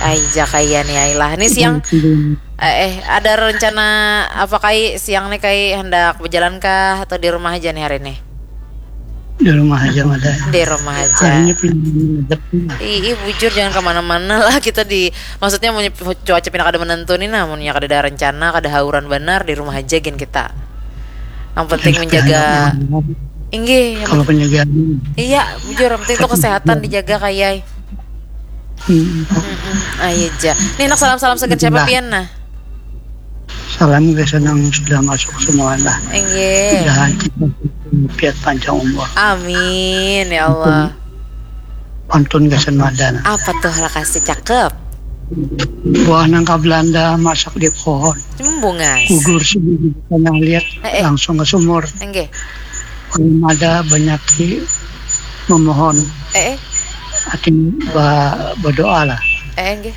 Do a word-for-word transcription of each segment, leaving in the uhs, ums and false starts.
Ai ja kaya ni ai lah. Ni siang eh, eh ada rencana apa kai siang ni kai hendak berjalan kah atau di rumah aja nih hari ini? Di rumah aja ada. Di rumah aja. Ih, ih bujur jangan kemana-mana lah kita di maksudnya mau cuaca pindah kada menentu nih nah, mau kada ada rencana, kada hauran benar di rumah aja gin kita. Yang penting menjaga. Inggih. Kalau penjagaan. Iya, bujur yang penting itu kesehatan dijaga kayai. Hmm. Ayo ja. Nih nak salam-salam segan siapa pian nah? Salam gasan nang sudah masuk semua lah. Inggih. Mudahan kita piat panjang umur. Amin ya Allah. Pantun gasan madan. Apa tuh lakasi cakep? Buah nangka Belanda masak di pohon. Bungas. Gugur sini di tanah liat eh, eh. Langsung ke sumur. Inggih. Belum ada banyak di memohon. Eh, eh. Atin ba, berdoa lah. Eh, enggak.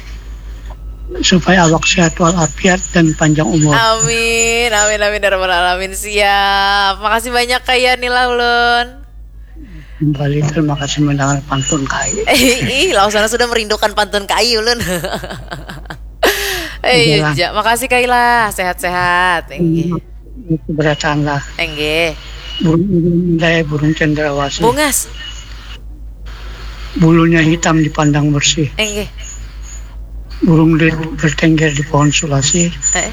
Supaya awak sehat walafiat dan panjang umur. Amin, amin, amin, ya rabbal alamin. Siap. Makasih banyak kaya Nila ulun. Kembali terima kasih mendengar pantun kai. Ih, langsung sudah merindukan pantun kai ulun. Eh, iya, makasih kai lah, sehat-sehat. Enggih. Keberatan lah. Enggih. Burung Indai, burung cendrawasih. Bungas. Bulunya hitam dipandang bersih. Enggih. Burung lir bertengger di pohon sulasi. Eh.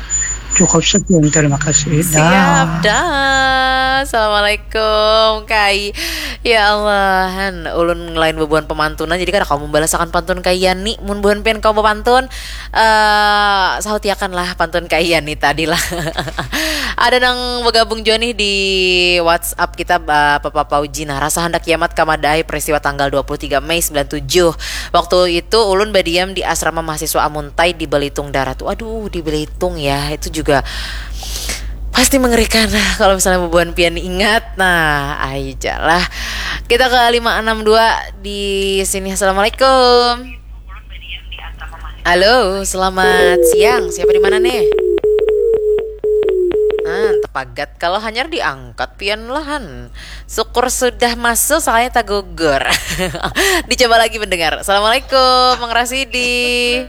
Cukup sekian, terima kasih. Siap, dah. Assalamualaikum, Kai. Ya Allah, han, ulun lain bebuan pemantunan, jadi kada kamu membalasakan pantun Kai Yani. Mun buhan pian kamu pantun, uh, sahutiakan lah pantun Kai Yani tadi lah. Ada nang bergabung juga nih di WhatsApp kita, uh, Papa Pauji. Nah, rasa hendak kiamat kamadai peristiwa tanggal dua puluh tiga Mei sembilan tujuh. Waktu itu ulun badiam di asrama mahasiswa Amuntai di Belitung Darat. Waduh, di Belitung ya. Itu juga pasti mengerikan kalau misalnya bubuhan pian ingat. Nah, aja lah. Kita ke lima enam dua di sini. Assalamualaikum. Halo, selamat siang. Siapa di mana nih? Ah, tepagat kalau hanyar diangkat pian lahan. Syukur sudah masuk soalnya tak gugur. Dicoba lagi mendengar. Assalamualaikum, Mang Rasidi.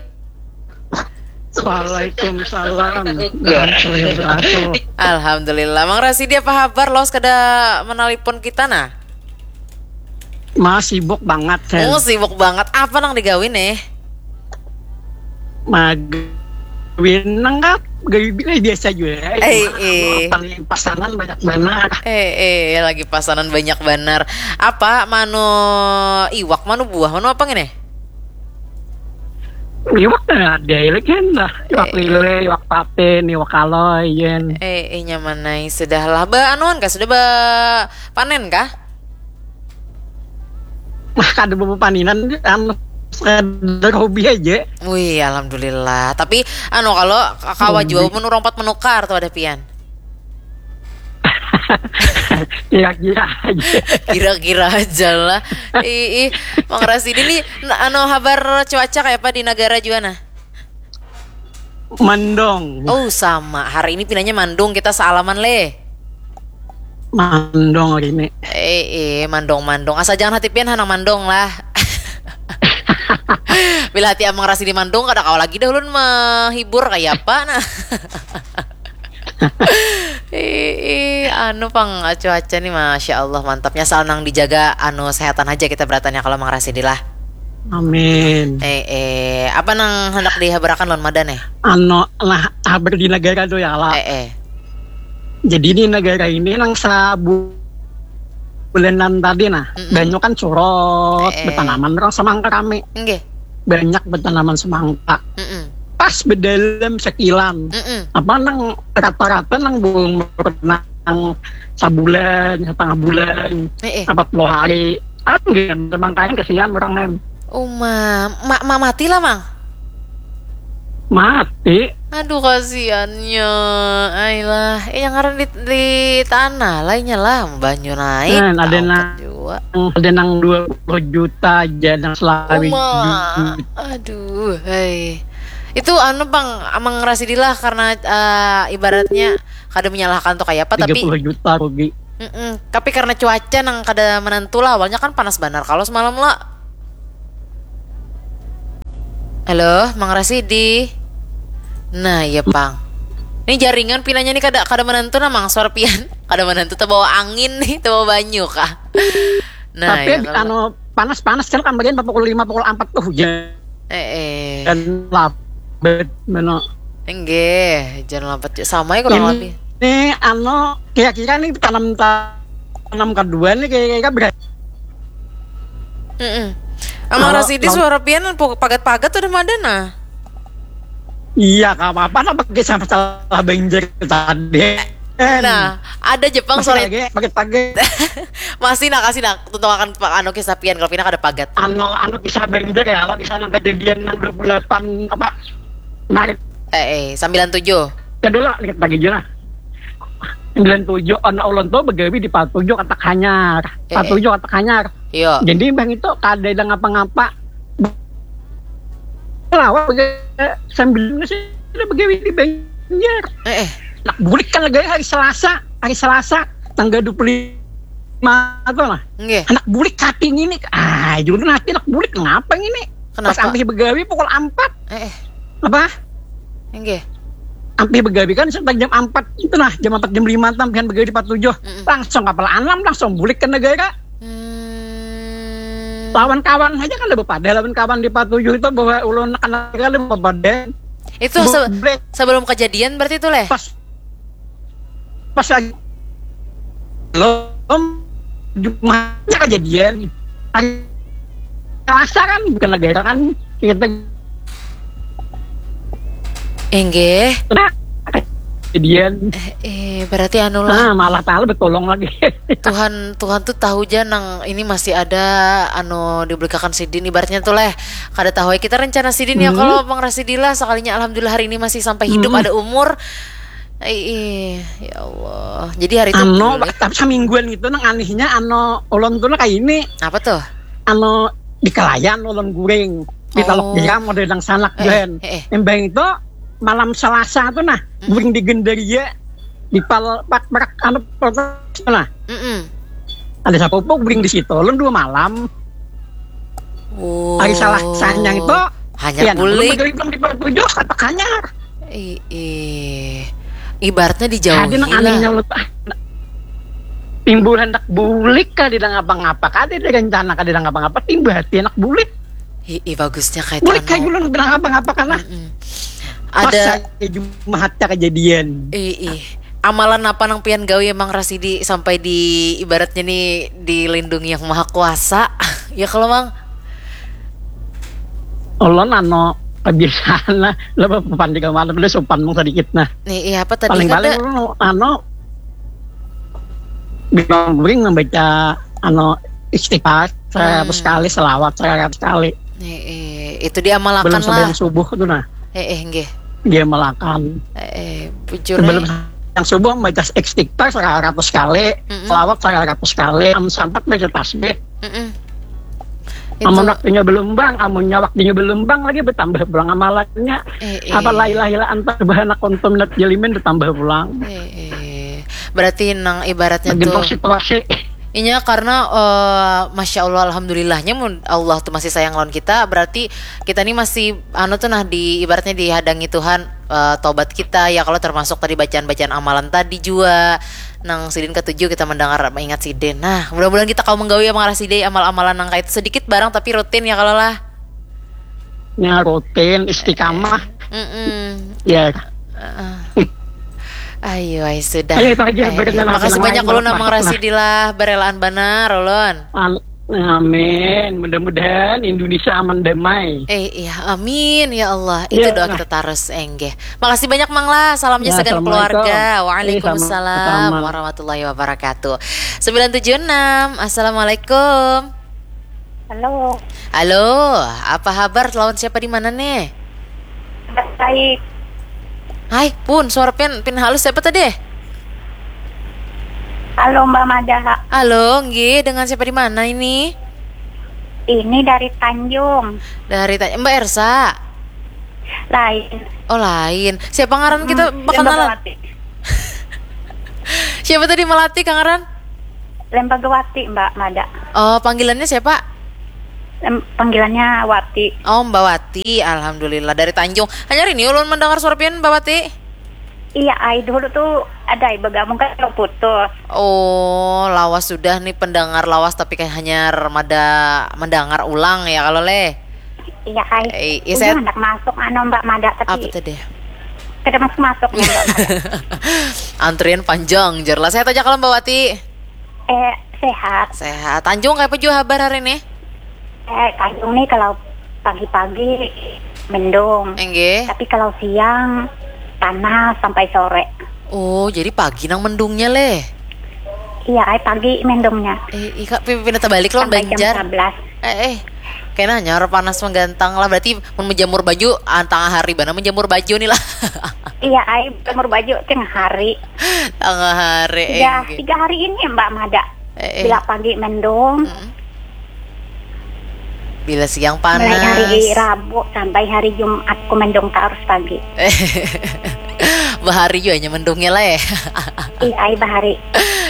Waalaikumsalam. Alhamdulillah. Mang Rasidi apa kabar? Los kada menelpon kita nah? Mas sibuk banget. Oh sibuk banget. Apa nang digawin eh? Mag Winang kah? Gawi biasa juga. Eh, eh. Pasangan banyak benar. Eh, eh, lagi pasangan banyak benar. Apa manu iwak, manu buah, manu apa ngene? Iwak ada lagi lah. Iwak eh, lele, iwak patin, iwak kaloyen. Eh, eh nyaman nai sudah lah. Ba anuan kah? Sudah ba panen kah? Nah, kada bapapaninan anu sekadar hobi aja. Wih, alhamdulillah. Tapi anu kalau kawa jua mun urang pat menukar tuh ada pian. Kira-kira aja. Kira-kira aja lah. Ih, ih. Mang Rasidi nih anu habar cuaca kayak apa di negara juga nah? Mandong. Oh sama, hari ini pinanya Mandung kita salaman le. Mandong hari ini. Eh, eh, mandong mandong. Asal jangan hati pian hanang mandong lah. Bila hati amang rasi di mandong kada kawa lagi dah ulun menghibur kayak apa nah. Ih, anu pang cuaca nih masya Allah mantapnya asal nang dijaga anu sehatan aja kita beratannya kalau mang rasi di lah. Amin. Eh, eh, apa nang hendak dihabarakan lon mada nih? Ano lah habar di negara tu ya lah. Eh, eh. Jadi di negara ini nang sabulanan tadi nah, mm -mm. Banyak kan surut, eh, eh. Bertanaman orang semangka kami. Enggak. Banyak bertanaman semangka. Mm -mm. Pas berdalam sekilan. Mm -mm. Apa nang rata-rata nang belum pernah sabulan, setengah bulan, eh, eh. Apa puluh hari. Aku gin, makanya kesian orang nem. Uma, ma, ma mati lah mang. Mati. Aduh kasiannya, ailah. Eh, yang ngaran di, di tanah lainnya lah, banyu naik. Nah, ada nang, ada nang dua puluh juta aja, nang selawi. Uma, aduh, hei. Itu anu bang, emang rasidilah karena uh, ibaratnya kada menyalahkan tuh kayak apa, tapi tiga puluh juta rugi. Mm-mm. Tapi karena cuaca nang kada menentu lah, awalnya kan panas banar kalau semalam lah. Halo, Mang Rasidi. Nah, iya pang. Ini jaringan pinanya nih kada kada menentu nah Mang suara pian. Kada menentu terbawa angin nih, terbawa banyu kah. Nah, tapi ya, kalau anu panas-panas kan kamarian pukul lima pukul empat tuh hujan. Eh, eh. Dan labet meno. Enggak, jangan lambat. Sama ya kurang ini, lebih. Ini anu kira-kira nih tanam tanam kedua nih kira-kira berarti Mm-mm. Amang Rasidi suara pian pagat-pagat udah mada nah. Iya, gak apa-apa lah pakai sama salah banjir tadi. Nah, ada Jepang masih sore lagi, pakai pakai. Masih nak kasih nak tutup akan anu kisah pian kalau pindah ada pagat. Anu anu kisah banjir ya, kalau kisah kejadian yang dua puluh delapan apa Maret. Eh, eh, sembilan tujuh. Kedua lihat lagi aja lah. Sembilan tujuh anak ulun tuh begawi di Patujuh kata kanyar. Eh, Patujuh kata kanyar. Iya. Jadi bang itu kada ada ngapa-ngapa. Lawan sambil sih begawi di Banjar. Eh, eh. Nak bulik kan lagi hari Selasa, hari Selasa tanggal dua puluh lima atau lah. Nggih. Anak bulik kating ini. Ah, juru nanti anak bulik ngapa ini? Kenapa? Pas ambil begawi pukul empat. Eh, eh. Apa? Nggih. Ambil begawi kan sekitar jam empat itu lah, jam empat jam lima tampihan begawi di Patujuh. Mm-mm. Langsung kapal alam langsung bulik ke negara. Hmm. Lawan kawan aja kan lebih pada lawan kawan di Patujuh itu bahwa ulun akan negara lebih pada. Itu se- sebelum kejadian berarti itu leh. Pas pas lagi belum Jumatnya kejadian hari Selasa kan bukan negara kan kita Enggih. Nah, kejadian. Eh, eh, berarti anu lah. Nah, malah tahu bertolong lagi. Tuhan Tuhan tuh tahu aja nang ini masih ada anu dibelikakan sidin ibaratnya tuh leh kada tahu ya kita rencana sidin hmm. Ya kalau Mang Rasidi lah sekalinya alhamdulillah hari ini masih sampai hidup hmm. Ada umur Ih, ya Allah. Jadi hari itu ano, tapi semingguan gitu nang anehnya ano ulun tuh kayak ini. Apa tuh? Ano di kelayan ulun guring di oh. Telok Geram ada yang sanak eh, eh, eh. Embang itu malam Selasa tuh nah hmm. Guring di Gendaria di pal pak pak ano nah. Mm -mm. Ada sapupu guring di situ ulun dua malam. Oh. Hari Selasanya itu hanya ya, bulik. Belum di Patujuh kata kanyar. Ih, ibaratnya dijauhi lah. Tadi nang anehnya lo timbul hendak bulik kah tidak ngapa-ngapa kah tidak rencana kah tidak ngapa-ngapa timbul hati hendak bulik. Ih, ih bagusnya kayak bulik kayak belum tidak ngapa-ngapa karena mm -mm. Ada Jumat kejadian. Ih, ih. Amalan apa nang pian gawi emang Rasidi sampai di ibaratnya nih dilindungi yang maha kuasa ya kalau mang Ulun anu kebiasaan lah lebih papan tiga malam udah sopan mung sedikit nah. Nih, iya apa tadi paling paling ulun anu bingung membaca anu istighfar seratus hmm. Kali selawat seratus kali. Nih, eh, itu diamalkan belum lah. Sebelum subuh tuh nah. Eh, eh, nggih. Diamalkan. Eh, eh bujur. Sebelum eh. Yang subuh membaca istighfar seratus kali, mm -mm. Selawat seratus kali, sampai baca tasbih. Mm -mm. Amun waktunya belum bang, amunnya waktunya belum bang lagi bertambah pulang amalannya. Eh, eh. Apa lailah ilah antar bahanak untum nat jelimin bertambah pulang. Eh, eh. Berarti nang ibaratnya Bagi tuh. Situasi. Inya karena uh, masya Allah alhamdulillahnya mun Allah tuh masih sayang lawan kita berarti kita nih masih anu tuh nah di ibaratnya dihadangi Tuhan uh, tobat kita ya kalau termasuk tadi bacaan-bacaan amalan tadi juga nang sidin ketujuh kita mendengar mengingat sidin nah mudah-mudahan kita kau menggawi amal sidin amal-amalan nang kayak sedikit barang tapi rutin ya kalau lah nya rutin istiqamah mm -mm. Ya uh, ayo ayo sudah ayo, ayo, ayo. Makasih banyak ulun Amang Rasidi lah berelaan banar ulun Amin. Mudah-mudahan Indonesia aman damai. Eh iya, amin ya Allah. Itu ya, doa nah. Kita terus enggih. Makasih banyak Mang lah. Salam ya, sagan keluarga. Waalaikumsalam warahmatullahi wabarakatuh. Sembilan tujuh enam. Assalamualaikum. Halo. Halo, apa kabar? Lawan siapa di mana nih? Baik. Hai, pun suara pin pin halus siapa tadi? Halo Mbak Mada. Halo, nggih, dengan siapa di mana ini? Ini dari Tanjung. Dari Tanjung, Mbak Ersa. Lain. Oh, lain. Siapa ngaran kita hmm, bakalan? Siapa tadi Melati Kang Ran? Lembagawati Mbak Mada. Oh, panggilannya siapa? Em, panggilannya Wati. Oh, Mbak Wati, alhamdulillah dari Tanjung. Hanyar ini ulun mendengar suara pian, Mbak Wati. Iya, ai dulu tuh ada ai begabung kan kalau putus. Oh, lawas sudah nih pendengar lawas tapi kayak hanyar mada mendengar ulang ya kalau leh. Iya, ai. Eh, iya, saya hendak masuk anu Mbak Mada tapi apa tadi? Kada masuk-masuk nih Mbak Mada. Antrian panjang, jar lah. Sehat aja kalau Mbak Wati. Eh, sehat. Sehat. Tanjung, kayak apa juga kabar hari ini? Eh, Tanjung nih kalau pagi-pagi mendung. Enggih. Tapi kalau siang panas sampai sore. Oh, jadi pagi nang mendungnya leh. Iya, ai pagi mendungnya. Eh, ika pi- pindah terbalik loh Sampai jam Banjar. sebelas. Eh, eh. Kena nyar panas menggantang lah. Berarti mun menjamur baju ah, tengah hari bana menjamur baju nih lah. Iya, ai jemur baju tengah hari. Tengah hari. Tiga, Enggih. tiga hari ini Mbak Mada. Eh, eh. Bila pagi mendung, Mm-mm. Bila siang mulai hari panas. Rabu sampai hari Jumat ku mendung terus pagi. Bahari juga hanya mendungnya lah ya. Iya, ai bahari.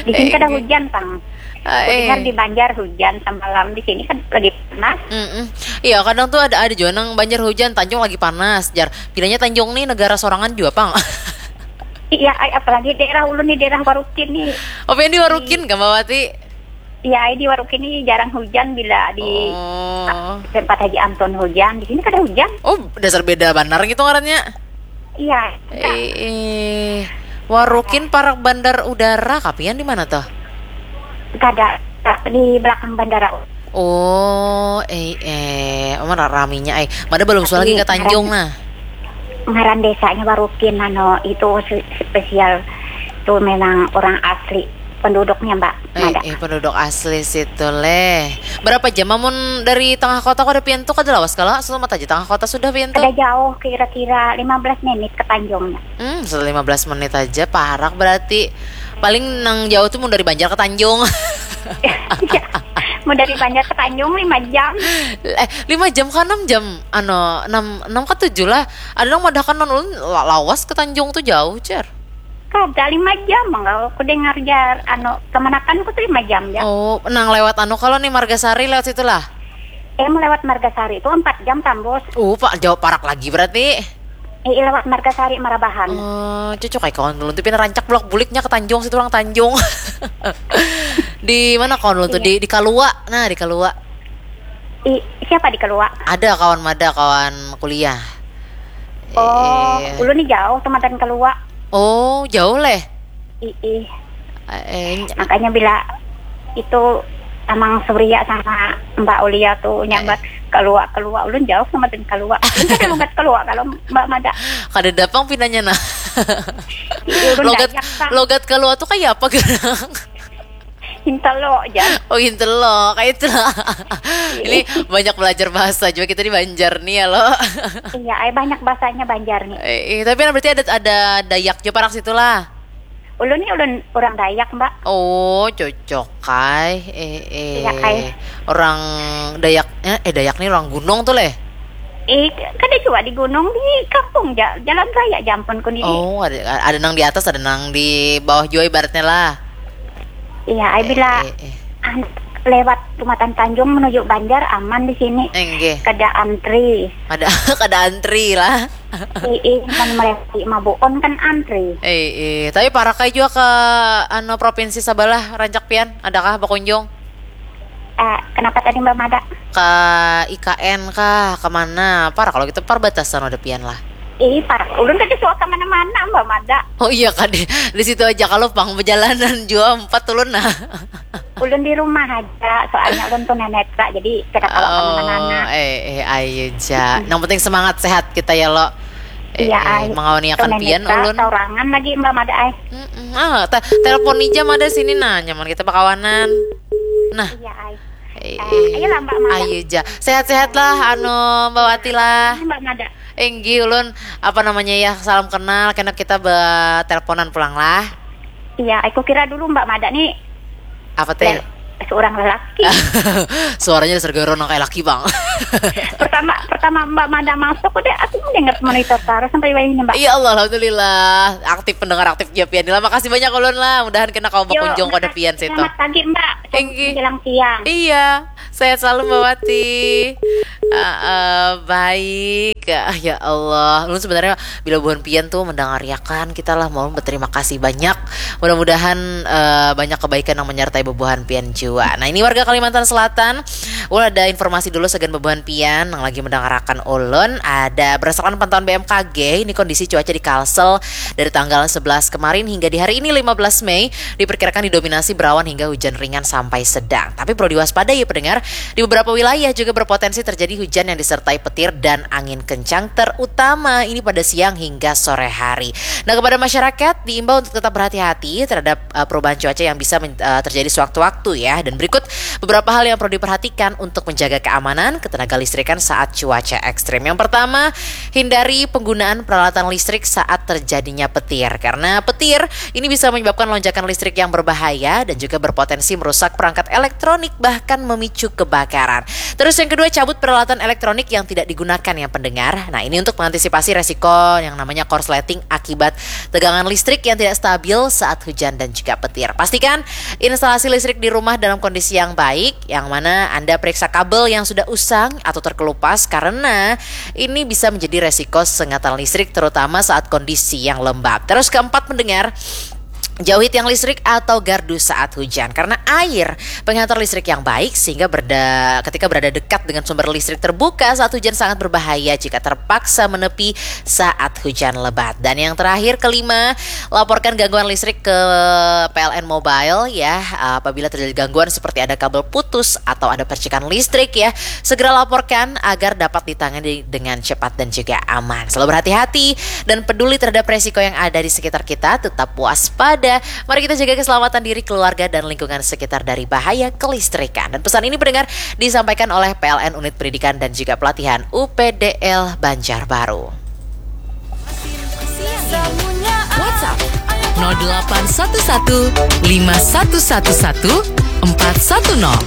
Di sini kada Enggih. hujan, Pang. Ah, Aku dengar eh. di Banjar hujan semalam, di sini kan lagi panas. Mm-mm. Iya, kadang tuh ada ada juga nang Banjar hujan, Tanjung lagi panas, jar. Bilanya Tanjung nih negara sorangan juga, Pang. Iya, ai, apalagi daerah ulun nih, daerah Warukin nih. Oh, pian di Warukin, Kak Mbak Wati? Iya, ai di Warukin nih jarang hujan, bila di Oh. tempat Haji Anton hujan, di sini kada hujan. Oh, dasar beda banar gitu ngarannya. Iya. Eh, eh. Warukin parak bandar udara, kapian di mana tuh? Kada, di belakang bandara. Oh, eh, eh, mana raminya, eh. Mana belum suah lagi Tapi ke Tanjung, ngaran, nah. ngaran desanya Warukin, anu, itu se- spesial. Itu memang orang asli penduduknya, Mbak. Eh, Mada. eh, penduduk asli situ, leh. Berapa jam amun dari tengah kota kada pian tuh, kada lawas kala? Selamat aja tengah kota sudah pian tuh. Kada jauh, kira-kira lima belas menit ke Tanjungnya. Hmm, sudah lima belas menit aja, parak berarti. Paling nang jauh tuh mun dari Banjar ke Tanjung. Iya. Mau dari Banjar ke Tanjung lima jam. Eh, lima jam ke enam jam? Ano, enam, enam ke tujuh lah. Ada nang madahkan non ulun la- lawas ke Tanjung tuh jauh, jar. Kada lima jam, kalau aku dengar jar, anu, kemanakan ku tuh lima jam ya. Oh, nang lewat anu kalau nih Margasari lewat situ lah. Eh, mau lewat Margasari itu empat jam tambus. Uh, pak jauh parak lagi berarti. Eh, lewat Margasari Marabahan. Oh, cocok kayak kawan dulu tuh pindah rancak bulak buliknya ke Tanjung situ orang Tanjung. Di mana kawan dulu tuh? Iya. Di di Kalua. Nah, di Kalua. I, siapa di Kalua? Ada kawan mada, kawan kuliah. Oh, Eh, ulun nih jauh tuh matan Kalua. Oh, jauh leh. Ih, Eh, ny- makanya bila itu Amang Surya sama Mbak Ulia tuh nyambat Eh. Kalua, Kalua, ulun jauh sama dan Kalua. Ulun kada logat Kalua kalau Mbak Mada. Kada dapang pinanya nah. Ih, ulun Logat Dayak, Bang. Logat Kalua tuh kayak apa gerang? Hintelo aja. Oh, hintelo, kayak itu lah. Ini banyak belajar bahasa juga kita di Banjar nih ya lo. Iya, ai banyak bahasanya Banjar nih. Eh, eh, tapi berarti ada ada Dayak juga parak situ lah. Ulun nih ulun orang Dayak, Mbak. Oh, cocok kai. Eh, eh. Iya, kai. Orang Dayak eh, eh Dayak nih orang gunung tuh leh. Eh, kada juga di gunung, di kampung ja, jalan raya jampun ku nih. Oh, ada ada nang di atas, ada nang di bawah juga ibaratnya lah. Iya, ai bila Eh, eh, eh. an- lewat Tumatan Tanjung menuju Banjar aman di sini. Enggih. Kada antri. Kada kada antri lah. Ii, mun melewati Mabuon kan antri. Eh, eh, tapi parak ai jua ke anu provinsi sabalah rancak pian, adakah bakunjung? Eh, kenapa tadi Mbak Mada? Ke I K N kah? Kemana? Parak kalau gitu perbatasan ada pian lah. Ih, parak. Ulun kada suah ke mana-mana, Mbak Mada. Oh iya kak, di, di situ aja kalau pang perjalanan jua empat ulun nah. Ulun di rumah aja, soalnya ulun tunanetra, jadi kada kawa Oh, kemana-mana. Eh, eh, ayo ja. Yang penting semangat sehat kita ya lo. Eh, Iya, eh, ai. Mengawani akan pian Tunanetra, ulun. Saurangan lagi Mbak Mada ai. Mm-mm. Ah, te- telepon aja Mada sini nah, nyaman kita bakawanan. Nah. Iya, ai. Eh, Eh, ayolah Mbak Mada. Ayo ja. Sehat-sehat lah, anu Mbak Wati lah. Mbak Mada. Enggi ulun apa namanya ya salam kenal, kena kita beteleponan pulang lah. Iya, aku kira dulu Mbak Mada nih. Apa teh? Le- seorang lelaki. Suaranya dasar garon nang kayak laki bang. Pertama pertama Mbak Mada masuk udah aku mendengar monitor Tara sampai wayahini Mbak. Ya Allah, alhamdulillah, aktif pendengar, aktif ja pian. Lah, makasih banyak ulun lah. Mudahan kena kawa Yo, bakunjung pada makasih. Pian situ. Selamat pagi Mbak. Thank you. Menjelang siang. Iya, sehat selalu Mbak Wati. Ah, eh, baik. Ah, ya Allah, ulun sebenarnya bila buhan Pian tuh mendengariakan kita lah mau berterima kasih banyak. Mudah-mudahan eh, banyak kebaikan yang menyertai bubuhan Pian jua. Nah, ini warga Kalimantan Selatan. Ulun ada informasi dulu sagan bubuhan Pian yang lagi mendengarakan ulun. Ada berdasarkan pantauan B M K G, ini kondisi cuaca di Kalsel dari tanggal sebelas kemarin hingga di hari ini lima belas Mei diperkirakan didominasi berawan hingga hujan ringan sampai sedang. Tapi perlu diwaspadai ya pendengar, di beberapa wilayah juga berpotensi terjadi hujan yang disertai petir dan angin kencang, terutama ini pada siang hingga sore hari. Nah, kepada masyarakat diimbau untuk tetap berhati-hati terhadap uh, perubahan cuaca yang bisa men- uh, terjadi sewaktu-waktu ya. Dan berikut beberapa hal yang perlu diperhatikan untuk menjaga keamanan ketenaga listrikan saat cuaca ekstrim. Yang pertama, hindari penggunaan peralatan listrik saat terjadinya petir. Karena petir ini bisa menyebabkan lonjakan listrik yang berbahaya dan juga berpotensi merusak perangkat elektronik, bahkan memicu kebakaran. Terus yang kedua, cabut peralatan elektronik yang tidak digunakan ya pendengar. Nah, ini untuk mengantisipasi resiko yang namanya korsleting akibat tegangan listrik yang tidak stabil saat hujan dan juga petir. Pastikan instalasi listrik di rumah dalam kondisi yang baik, yang mana Anda periksa kabel yang sudah usang atau terkelupas karena ini bisa menjadi resiko sengatan listrik terutama saat kondisi yang lembab. Terus keempat pendengar, jauhi tiang listrik atau gardu saat hujan karena air penghantar listrik yang baik sehingga berada, ketika berada dekat dengan sumber listrik terbuka saat hujan sangat berbahaya jika terpaksa menepi saat hujan lebat. Dan yang terakhir kelima, laporkan gangguan listrik ke P L N Mobile ya. Apabila terjadi gangguan seperti ada kabel putus atau ada percikan listrik ya, segera laporkan agar dapat ditangani dengan cepat dan juga aman. Selalu berhati-hati dan peduli terhadap resiko yang ada di sekitar kita, tetap waspada. Mari kita jaga keselamatan diri, keluarga, dan lingkungan sekitar dari bahaya kelistrikan. Dan pesan ini pendengar disampaikan oleh P L N Unit Pendidikan dan juga Pelatihan U P D L Banjarbaru. WhatsApp nol delapan satu satu lima satu satu satu empat satu nol.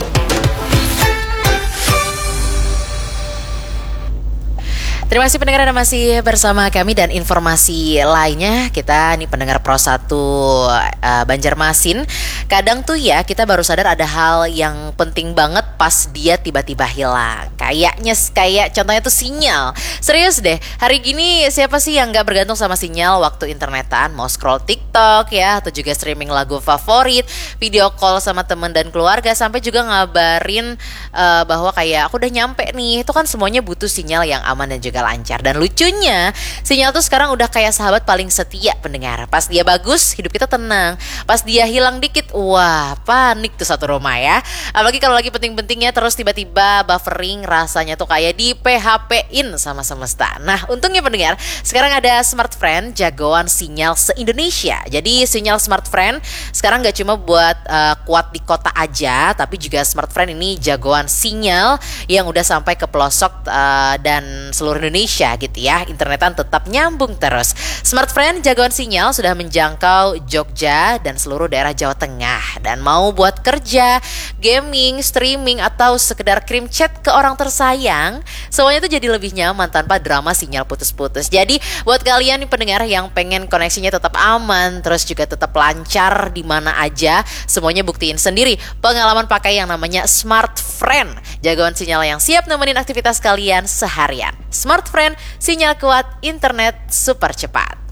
Terima kasih pendengar Anda masih bersama kami dan informasi lainnya kita nih pendengar Pro satu uh, Banjarmasin. Kadang tuh ya kita baru sadar ada hal yang penting banget pas dia tiba-tiba hilang. Kayaknya kayak contohnya tuh sinyal. Serius deh, hari gini siapa sih yang nggak bergantung sama sinyal waktu internetan? Mau scroll TikTok ya atau juga streaming lagu favorit, video call sama temen dan keluarga sampai juga ngabarin uh, bahwa kayak aku udah nyampe nih. Itu kan semuanya butuh sinyal yang aman dan juga lancar. Dan lucunya, sinyal tuh sekarang udah kayak sahabat paling setia pendengar. Pas dia bagus, hidup kita tenang. Pas dia hilang dikit, wah panik tuh satu rumah ya. Apalagi kalau lagi penting-pentingnya terus tiba-tiba buffering, rasanya tuh kayak di P H P-in sama semesta. Nah, untungnya pendengar, sekarang ada Smart Friend jagoan sinyal se-Indonesia. Jadi sinyal Smart Friend sekarang gak cuma buat uh, kuat di kota aja, tapi juga Smart Friend ini jagoan sinyal yang udah sampai ke pelosok uh, dan seluruh Indonesia gitu ya. Internetan tetap nyambung terus. Smart Friend jagoan sinyal sudah menjangkau Jogja dan seluruh daerah Jawa Tengah. Dan mau buat kerja, gaming, streaming, atau sekedar kirim chat ke orang tersayang, semuanya tuh jadi lebih nyaman tanpa drama sinyal putus-putus. Jadi buat kalian nih pendengar yang pengen koneksinya tetap aman, terus juga tetap lancar di mana aja, semuanya buktiin sendiri pengalaman pakai yang namanya Smart Friend. Jagoan sinyal yang siap nemenin aktivitas kalian seharian. Smart Friend, sinyal kuat, internet super cepat.